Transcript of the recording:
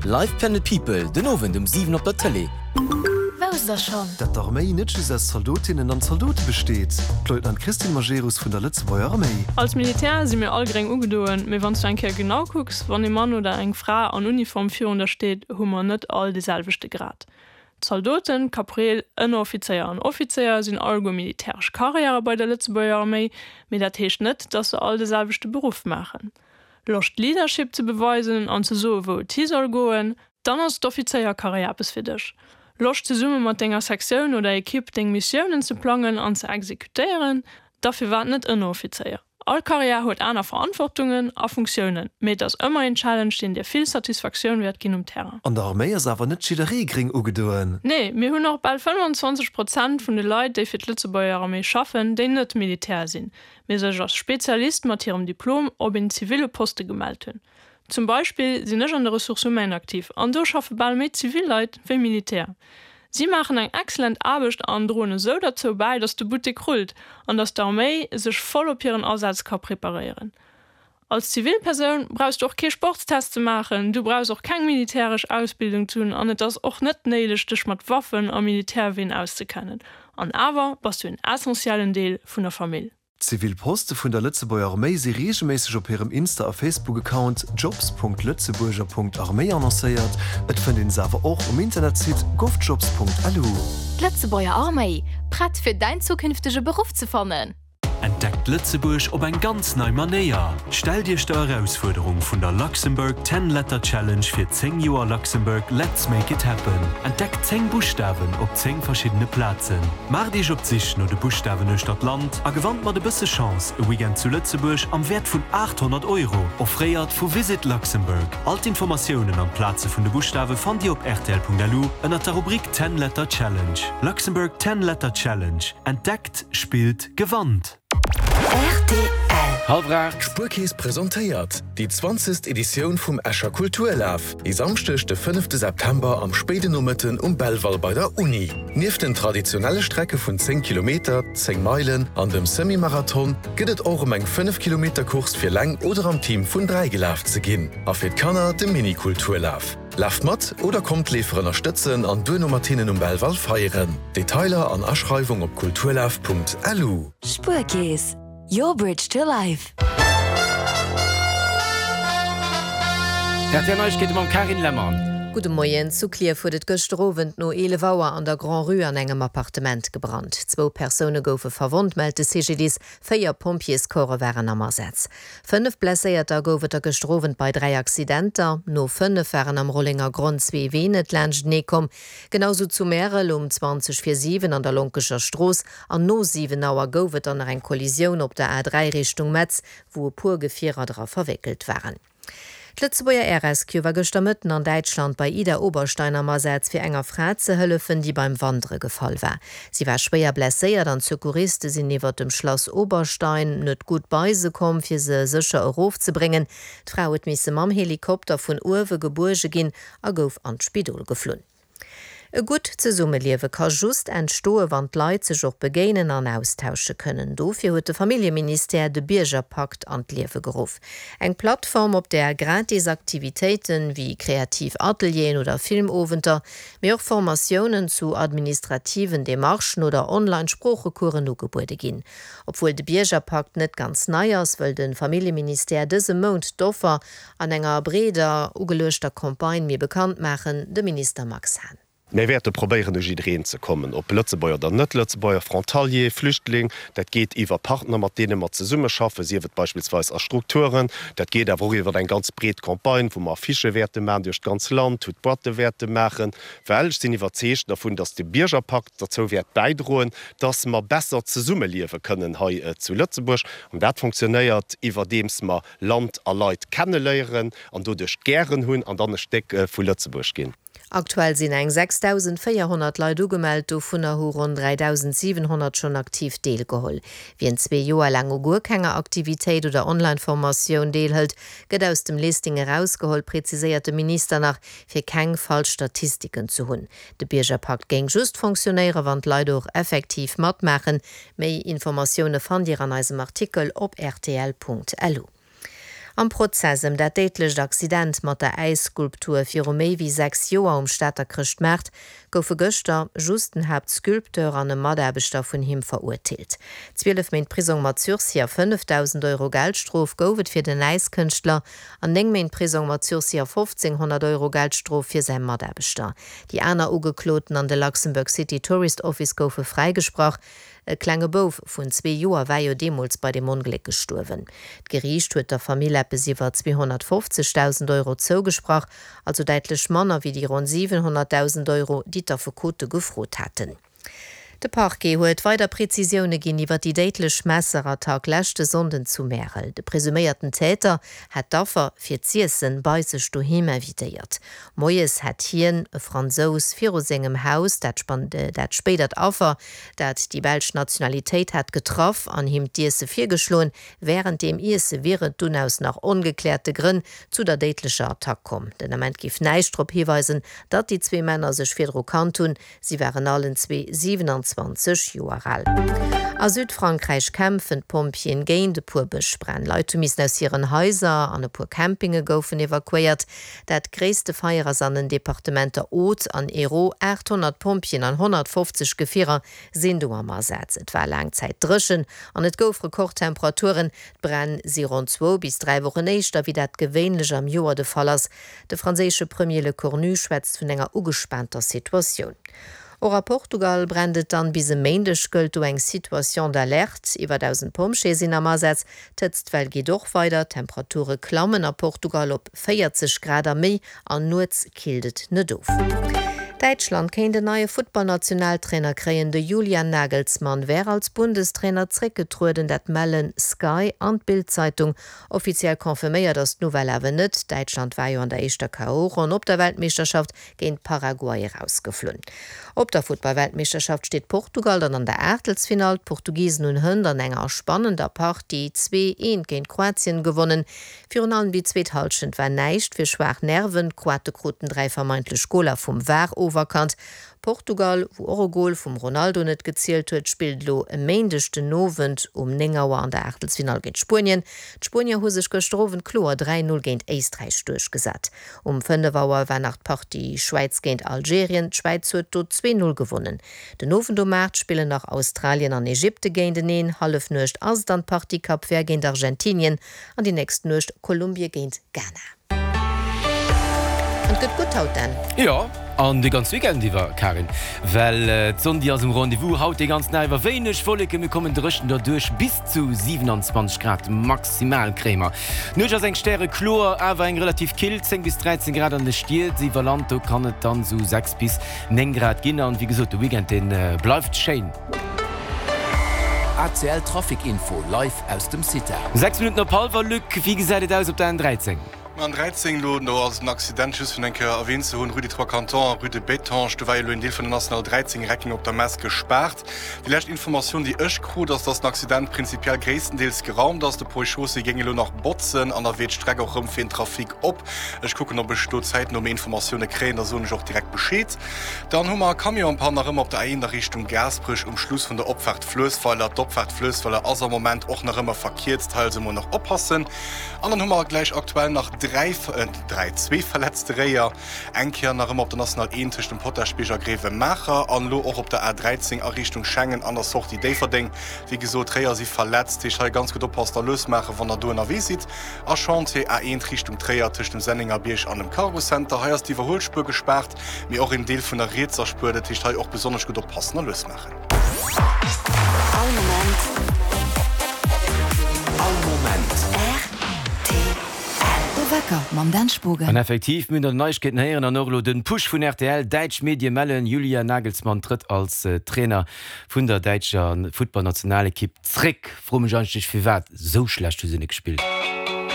Live Planet People den Owend um 7 op der Tëlee. Wousst der schonn? Dat d'Arméi net just aus Zaldotinnen an Zaldote besteet. D'Leutnant Christine Majerus vun der Lëtzebuerger Arméi. Als Militär si mir all gréng ugedoen, mee wann s du eng Kéier genau kucks, wann ee Mann oder eng Fra an Uniform virun der steet, hu mer net all dee selwechte Grad. Zaldoten, Kapreel, Ënneroffizéier an Offizéier sinn alleguer militäresch Karriäre bei der Lëtzebuerger Arméi, mee dat heescht net, dass se all de selwechte Beruff maachen. Loscht Leadership ze beweisen an ze soe wou et hi soll goen? Dann ass d'Offizéierkarriär eppes fir dech. Loscht zesumme mat denger Sektioun oder Ekipp deng Missiounen ze plangen an ze exekutéieren? Da firwat net Ënneroffizéier? All Karriär huet aner Verantwortungen a Funktiounen, mee et ass ëmmer een Challenge, deen dir vill Satisfaktioun wäert ginn um Terrain. An der Arméi ass awer net jidderee gréng ugedoen. Nee, mir hunn och bal 25 Prozent vun de Leit, déi fir d'Lëtzebuerger Arméi schaffen, déi net Militär sinn, mee sech als Spezialist mat hirem Diplom op een ziville Poste gemellt hunn. Zum Beispill sinn ech an de Ressources humaines aktiv an do schaffe bal méi zivil Leit wéi Militär. Si maachen eng excellent Aarbecht an droen esou derzou bäi, datt de Buttek rullt an datt d'Arméi sech voll op hiren Asaz ka preparéieren. Als zivil Persoun brauchs du och kee Sportstest ze maachen, du brauchs och keng militäresch Ausbildung ze hunn an et ass och net néideg dech mat Waffen a Militärween auszekennen. An awer bass du en essentiellen Deel vun der Famill. D'zivil Poste vun der Lëtzebuerger Arméi si reegelméisseg op hirem Insta a Facebook-Account jobs.lëtzebuerger.arméi annoncéiert. Et fënnt een se awer och um Internetsite govjobs.lu. D'Lëtzebuerger Arméi, prett fir däin zukünftege Beruff ze fannen? Entdeckt Lëtzebuerg op eng ganz nei Manéier! Stellt Iech der Erausfuerderung vun der Luxembourg Ten Letter Challenge fir 10 Joer Luxembourg Let's Make It Happen. Entdeckt 10 Buschtawen op 10 verschiddene Plazen. Maacht Iech op d'Sich no de Buschtawen uechter d'Land a gewannt mat e bësse Chance e Weekend zu Lëtzebuerg am Wäert vun 800 Euro, offréiert vu Visit Luxembourg. All d'Informatiounen an d'Plaze vun de Buschtawe fannt Dir op rtl.lu ënnert der Rubrik Ten Letter Challenge. Luxembourg Ten Letter Challenge, Entdeckt, spillt, gewannt! Rtl. Hallwer 8. D'Spuerkeess presentéiert déi zwanzegst Editioun vum Escher Kulturlaf, e Samschdeg de fënnefte September am spéiden Nomëtten um Belval bei der Uni. Nieft den traditionelle Strecke vun 10 Kilometer, 10 Meilen an dem Semi-Marathon gëtt et och ëm eng 5 Kilometer Course fir leng oder am Team vun 3 gelaf ze ginn a fir d'Kanner de Mini-Kulturlaf. Laaft mat oder kommt d'Leefer ënnerstëtzen an duerno mat hinnen um Belval feieren. Detailer an Aschreiwung op kulturlaf.lu. Spuerkeess, your bridge to life. Rtl Neiegkeete mam Carine Lemmer. Gudde Moien. Zu Klierf huet et gëschter Owend no 11 Auer an der Grand-Rue an engem Appartement gebrannt. Zwou Persoune goufe verwonnt, mellt de CGDIS. Véier Pompjeescorpse waren am Asaz. Fënnef Blesséierter gouf et der gëschter Owend bei 3 Accidenter. No 5 waren am Rollengergronn zwee Ween net laanschtenee komm. Genau sou zu Märel um 20 vir 7 an der Lonkecher Strooss. An no 7 Auer gouf et dann nach eng Kollisioun op der A3 Richtung Metz, wou e puer Gefierer dra verwéckelt waren. D'Lëtzebuerger Air Rescue war gëschter Mëtten an Däitschland bei Idar-Oberstein am Asaz, fir enger Fra ze hëllefen, déi beim Wandere gefall war. Si war schwéier blesséiert an d'Secouriste sinn iwwer dem Schlass Oberstein net gutt bei se komm, fir se sécher erofzebréngen. D'Fra huet misse mam Helikopter vun uewe gebuerge ginn a gouf an d'Spidol geflunn. E gutt Zesummeliewe ka just entstoe wann d'Leit sech och begéinen an austausche kënnen. Dofir huet de Familljeministère de Biergerpakt an d'Liewe geruff. Eng Plattform, op där gratis Aktivitéiten, wéi kreativ Atelieren oder Filmowenter, mee och Formatiounen zu administrativen Demarchen oder Online-Sproochecoursen ugebuede ginn. Obwuel de Biergerpakt net ganz nei ass, wëll de Familljeministère dëse Mount d'Offer an enger breeder ugeluechter Campagne méi bekannt maachen, de Minister Max Hahn. Mir wäerte probéieren u jiddereen ze kommen, ob Lëtzebuerger oder Net-Lëtzebuerger, Frontalier, Flüchtling. Dat geet iwwer Partner, mat deene mer zesummeschaffen, sief et beispillsweis a Strukturen. Dat geet awer och iwwer eng ganz breet Campagne, wou mer Affichë wäerte maachen duerch d'ganz Land, wou d'Boîte wäerte maachen. Well ech sinn iwwerzeegt dervun, datt de Biergerpakt derzou wäert bäidroen, datt mer besser zesummeliewe kënnen hei zu Lëtzebuerg. An dat fonctionnéiert iwwerdeems mer Land a Leit kenneléieren an doduerch gären hunn an dann e Stéck vu Lëtzebuerg ginn. Aktuell sinn eng 6.400 Leit ugemellt, dovunner hu ronn 3.700 schonn aktiv deelgeholl. Wien zwee Joer laang u guer kenger Aktivitéit oder Online-Formatioun deelhëlt, gëtt aus dem Listing erausgeholl, preziséiert de Minister nach, fir keng falsch Statistiken ze hunn. De Biergerpakt géing just fonctionnéieren, wann d'Leit och effektiv matmaachen. Méi Informatioune fannt Dir an eisem Artikel op rtl.lu. Am Prozess ëm dat déidlecht Accident mat der Äisskulptur viru méi wéi 6 Joer um Stater Chrëschtmaart goufe gëschter just den Haaptsculpteur an e Mataarbechter vun him verurteelt. 12 Méint Prisong mat Sursis a 5.000 Euro Geldstrof gouf et fir den Äiskënschtler an 9 Méint Prisong mat Sursis a 1.500 Euro Geldstrof fir säi Mataarbechter. Déi aner Ugekloten an de Luxembourg City Tourist Office goufe fräigesprach. E klenge Bouf vun zwee Joer war jo deemools bei deem Ongléck gestuerwen. D'Geriicht huet der Famill eppes iwwer 250.000 Euro zougesprach, also däitlech manner wéi déi ronn 700.000 Euro, déi d'Affekote gefrot haten. De Parquet huet weider Prezisioune ginn iwwer déi déidlech Messerattack leschte Sonnden zu Märel. De presuméierten Täter hätt d'Affer fir z'iessen bei sech doheem invitéiert. Moies hätt hien, e Fransous, viru sengem Haus dat spéidert Affer, dat déi belsch Nationalitéit hat, getraff an him d'Iesse virgeschloen. Wärend deem Iesse wier et dunn aus nach ongekläerte Grënn zu der déidlecher Attack komm. Den Ament géif näischt drop hiweisen, datt déi zwee Männer sech virdru kannt hunn. Si waren allen zwee 27 Joer al. A Südfrankräich kämpfen d'Pompjeeën géint e puer Bëschbränn. Leit hu missen aus hiren Haiser an e puer Campinge goufen evakuéiert. Dat gréisste Feier ass an den Departementer Aude an Hérault. 800 Pompjeeën an 150 Gefierer sinn do am Asaz. Et war laang Zäit dréchen an et gouf Rekordtemperaturen. D'Bränn si ronn zwou bis 3 Wochen éischter, wéi dat gewéinlech am Joer de Fall ass. De franséische Premier Lecornu schwätzt vun enger ugespaanter Situatioun. Och a Portugal brennt et dann. Bis e Méindeg gëllt do eng Situation d'alerte. Iwwer 1.000 Pompjeeë sinn am Asaz. D'Hëtztwell geet och weider, d'Temperature klammen a Portugal op 40 Grad a méi an nuets killt et net of. Däitschland kéint en neie Futtballnationaltrainer kréien. De Julian Nagelsmann wär als Bundestrainer zréckgetrueden, dat mellen Sky an d'Bild-Zeitung. Offiziell confirméiert ass d'Nouvelle awer net. Däitschland war jo an der éischter KO-Ronn op der Weltmeeschterschaft géint Paraguay erausgeflunn. Op der Futtball-Weltmeeschterschaft steet Portugal dann an der Aachtelsfinall. D'Portugisen hunn hënt an enger spannender Partie 2, 1 géint Kroatien gewonnen. Virun allem déi zweet Hallschent war näischt fir schwaach Nerven. D'Kroate kruten 3 vermeintlech Goler vum VAR oferkannt. Portugal, wou och e Gol vum Ronaldo net gezielt huet, spillt elo e Méindeg den Owend um 9 Auer an der Aachtelsfinall géint Spuenien. D'Spuenier hu sech gëschter Owend kloer 3, 0 géint Éisträich duerchgesat. Um 5 Auer war nach d'Partie Schwäiz géint Algerien, d'Schwäiz huet do 2, 0 gewonnen. Den Owend um 8 spillen nach Australien an Ägypte géinteneen, Hallefnuecht ass dann d'Partie Cap Vert géint Argentinien an déi nächst Nuecht Kolumbie géint Ghana. An et gëtt gutt haut, Dan. Jo, an de ganz Weekend iwwer, Karin, well d'Sonn déi ass um Rendez-vous haut dee ganzen Dag iwwer. Wéineg Wolleken, mir kommen dréchen derduerch, bis zu 27 Grad maximal kréie mer. D'Nuecht ass eng stärekloer, awer eng relativ kill, 10 bis 13 Grad an de Stied, iwwer Land do kann et dann esou 6 bis 9 Grad ginn. An wéi gesot, de Weekend dee bleift schéin. ACL Trafic Info live aus dem CITA. 6 Minutten op hallwer, Luc, wéi gesäit et aus op der N13? Ma N13 elo, do ass en Accident, just fir en eng Kéier erwähnt ze hunn, Rue des Trois Cantons a Rue de Bétange, do war jo elo en Deel vun der National 13 Recking op der Mess gespaart. Déi lescht Informatioun, déi ech krut, ass, dass den Accident prinzipiell gréisstendeels geraumt ass. De Pont et Chaussée géing elo nach botzen an da wier d'Streck och rëm fir den Trafic op. Ech kucken, ob ech do zäitno méi Informatioune kréien, da soen ech och direkt Bescheed. Dann hu mer e Camion en panne nach ëmmer op der A1 a Richtung Gaasperech um Schluss vun der Opfaart Fluessweiler. D'Opfaart Fluessweiler ass am Moment och nach ëmmer verkierzt, hei also mol nach oppassen. An dann hu mer gläich aktuell nach dräi, dräi, zwee verletzte Réier, eng Kéier nach ëmmer op der National 1 tëscht dem Potaschbierg a Grevenmacher an elo och op der A13 a Richtung Schengen an der Sortie Déifferdeng. Wéi gesot, Réier si verletzt, heescht hei ganz gutt oppassen a lues maachen, wann der do ënnerwee sidd. A Chantier A1 Richtung Tréier tëscht dem Sennengerbierg an dem Cargo Center. Hei ass d'Iwwerhuelspuer gespaart, mee och een Deel vun der rietser Spuer. Dat heescht hei och besonnesch gutt oppassen a lues maachen. All Moment. All Moment. Rtl. De Wecker mam Dan Spogen. An effektiv, mir hunn der Neiegkeeten héieren an och elo den Push vun rtl. Däitsch Medie mellen, Julian Nagelsmann trëtt als Trainer vun der däitscher Futtballnationalekipp zréck. Froe mech eigentlech firwat, sou schlecht hu se net gespillt.